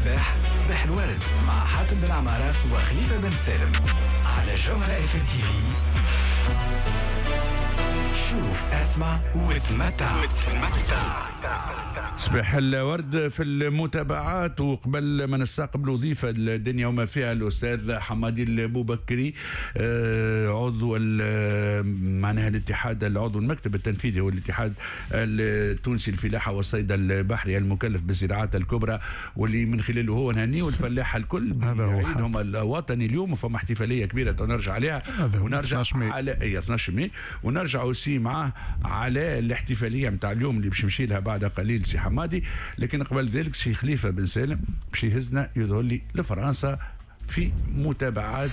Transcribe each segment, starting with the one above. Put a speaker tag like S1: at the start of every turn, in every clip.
S1: الصباح، صباح الورد مع حاتم بن عمارة وخليفة بن سالم على جوهرة اف ام تي في. شوف، اسمع وتمتع.
S2: صباح الورد في المتابعات. وقبل ما نستقبل ضيف الدنيا وما فيها الاستاذ حمادي البوبكري، عضو معناها الاتحاد، العضو المكتب التنفيذي والاتحاد التونسي للفلاحه والصيد البحري المكلف بالزراعات الكبرى، واللي من خلاله هو نهنيه الفلاحة الكل عيدهم الوطني اليوم، وفما احتفالية كبيرة نرجع عليها ونرجع على 12 ماي، ونرجع aussi معاه على الاحتفالية نتاع اليوم اللي باش نمشي لها بعد قليل سي حمادي. لكن قبل ذلك سي خليفة بن سالم باش يهزنا يظهر لي لفرنسا في متابعات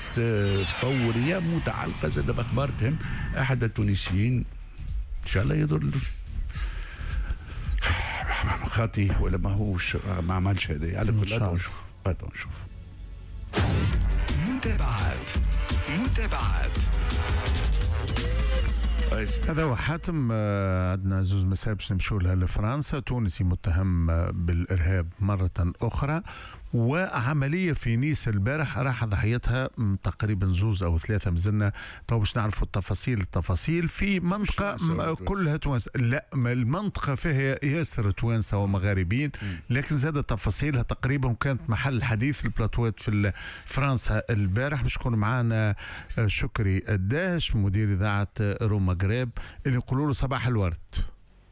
S2: فورية متعلقه زاد باخبار تهم احد التونسيين، ان شاء الله يظهر خاطي ولا ماهوش ما عملش هذا. على كل نشوف نشوف
S1: متابعات متابعات.
S3: هذا هو حاتم. عندنا زوز مسائل باش نمشوا لها لفرنسا. تونسي متهم بالارهاب مرة اخرى، وعملية في نيس البارح راح ضحيتها تقريبا زوز او ثلاثة، مازلنا تو باش نعرفوا التفاصيل في منطقة كلها توانسة. لا، المنطقة فيها ياسر توانسة ومغاربين، لكن زاد تفاصيلها تقريبا كانت محل حديث البلاتوات في فرنسا البارح. باش يكون معنا شكري الداهش مدير اذاعة روما غريب اللي نقولوا له صباح الورد.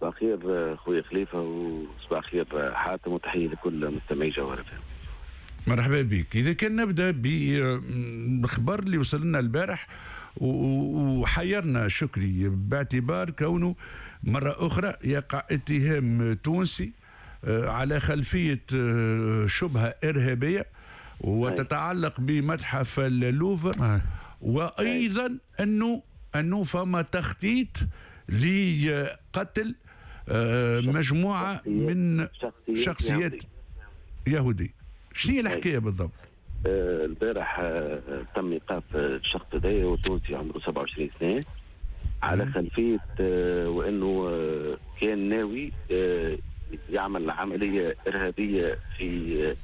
S4: صباح الخير خويا خليفة، وصباح الخير حاتم، وتحية لكل مستمعي جوهرة.
S2: مرحبا بك. إذا كان نبدأ بالخبر اللي وصل لنا البارح وحيرنا شكري، باعتبار كونه مرة أخرى يقع اتهام تونسي على خلفية شبهة إرهابية وتتعلق بمتحف اللوفر، وأيضا أنه فما تخطيط لقتل مجموعة من شخصيات يهودية. شنو هي الحكاية بالضبط؟
S4: البارح تم ايقاف الشخص هذايا، وتونسي عمره 27 سنة، على خلفية وانه كان ناوي يعمل عملية ارهابية في،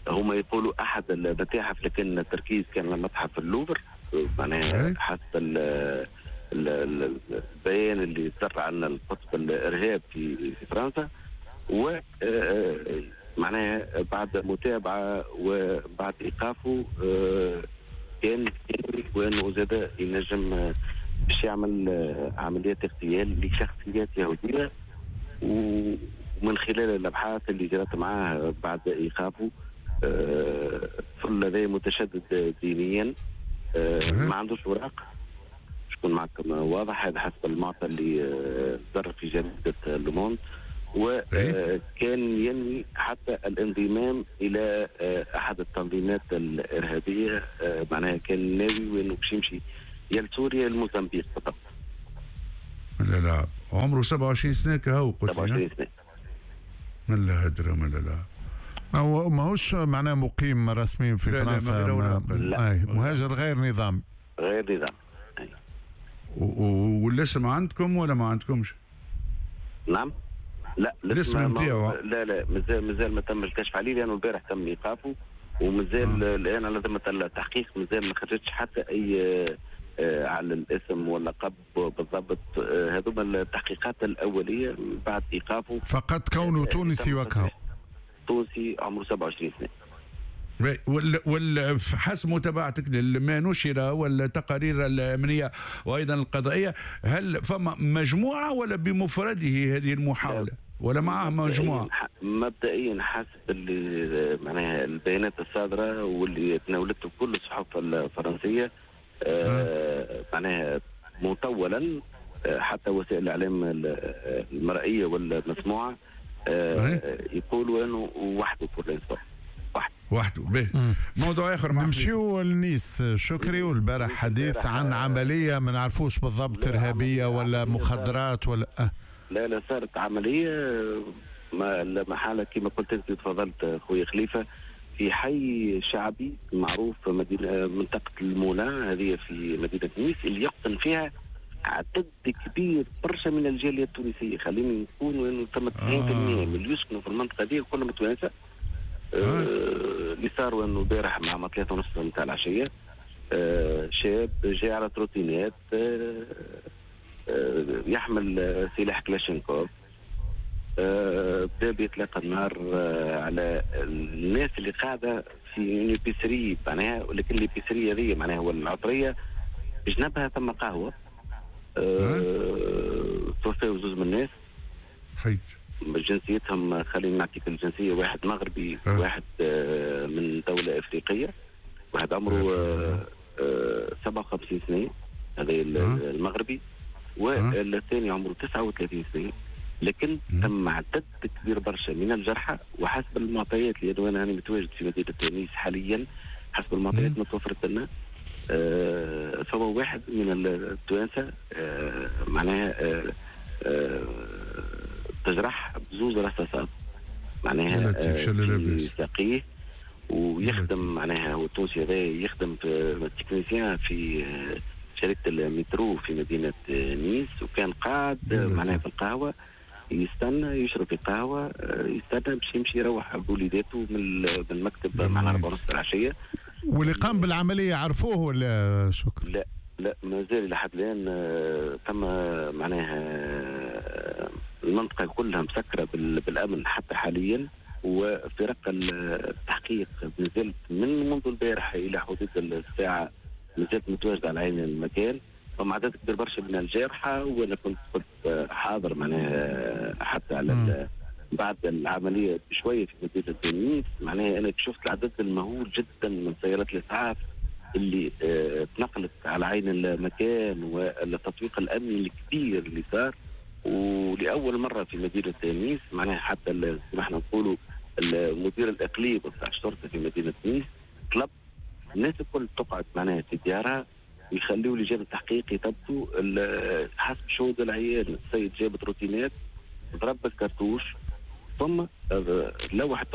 S4: هما يقولوا احد المتاحف، لكن التركيز كان على متحف اللوفر، معناها حسب البيان اللي صدر عن القطب الارهاب في فرنسا. و معناها بعد متابعة وبعد إيقافه كان وأنه زاد ينجم باش يعمل عمليات اغتيال لشخصيات يهودية. ومن خلال الأبحاث اللي جرت معاه بعد إيقافه، طفل هذا متشدد دينيا، ما عندوش أوراق، شكون معكم واضح، هذا حسب المعطى اللي صدر في جريدة لوموند. وكان ينوي حتى الانضمام الى احد التنظيمات الارهابية، معناها كان ناوي وانه باش يمشي يا لسوريا الموزمبيق بالضبط.
S2: لا لا، عمره 27 سنة كهو قلت
S4: 27 سنة.
S2: من لا هدره من لا لا،
S3: هو ماهوش معناه مقيم رسمي في فرنسا، لا، مهاجر غير نظامي.
S4: غير نظامي.
S2: والاسم عندكم ولا ما عندكمش؟
S4: نعم. لا،
S2: الاسم نتاعو
S4: لا لا، مازال ما تم الكشف عليه، لانه البارح تم ايقافه ومازال الان على ذمه التحقيق، مازال ما خرجتش حتى اي على الاسم واللقب بالضبط. هذوما التحقيقات الاولية بعد ايقافه،
S3: فقط كونه تونسي وكهو.
S4: تونسي عمره 27 سنة.
S2: حسب متابعتك لما نشر والتقارير الأمنية وأيضا القضائية، هل فما مجموعة ولا بمفرده هذه المحاولة ولا معه مجموعة؟
S4: مبدئيا حسب اللي معناها البيانات الصادرة واللي تناولته كل الصحف الفرنسية، معناها مطولا، حتى وسائل الإعلام المرئية والمسموعة يقولوا أنه وحده pour
S2: وحده. به موضوع اخر
S3: نمشيو لنيس شكري. والبارح حديث عن عملية ما نعرفوش بالضبط ارهابية ولا مخدرات ولا
S4: لا لا، صارت عملية ما محالة كما قلت انت تفضلت خويا خليفة، في حي شعبي معروف في مدينة منطقة المولا، هذه في مدينة نيس، اللي يقطن فيها عدد كبير برشا من الجالية التونسية. خليني نكون انه ثم 90% من اللي يسكنوا في المنطقة هذه كلهم توانسة. اللي صار انه البارح مع 3:30 نتاع العشية شاب جاي على trottinette يحمل سلاح كلاشينكوف، بدا بيطلق النار على الناس اللي قاعدة في épicerie معناها، ولكن l'épicerie هذه معناها هو العطريه بجنبها ثم قهوة. توفاو زوز من الناس
S2: حيت
S4: جنسيتهم، خلينا نعطيك الجنسيه، واحد مغربي واحد من دولة افريقيه، واحد عمره 57 سنة هذا المغربي، والثاني عمره 39 سنة. لكن تم عدد كبير برشا من الجرحى، وحسب المعطيات اللي انا متواجد في مدينة تونس حاليا، حسب المعطيات المتوفرة لنا فهو واحد من التوانسة معناها تجرح بزوز رصاصات معناها في ساقيه، ويخدم معناها هو التونسي هذا يخدم في technicien في شركة المترو في مدينة نيس، وكان قاعد معناها في القهوة يستنى يشرب في قهوة، يستنى باش يمشي يروح بوليداته من المكتب مع 4:30 العشية.
S3: واللي قام بالعملية عرفوه ولا شكرا؟
S4: لا لا، ما زال لحد الآن تم معناها المنطقة كلها مسكرة بالأمن حتى حاليا، وفرق التحقيق نزلت من منذ البارحة إلى حدود الساعة نزلت متواجدة على عين المكان. فما عدد كبير برشا من الجارحة، وأنا كنت حاضر معناها حتى على بعد العملية بشوية في مدينة تونس. معناها أنا شفت العدد المهول جدا من سيارات الإسعاف اللي تنقلت على عين المكان، والتطويق الأمني الكبير اللي صار. ولأول مرة في مدينة تونس معناها حتى كما احنا نقولوا المدير الإقليمي بتاع الشرطة في مدينة تونس طلب الناس الكل تقعد معناها في ديارها ويخليوا لجان التحقيق يثبتوا. حسب شهود العيان السيد جاب trottinette، ضرب الكرتوش، ثم لوح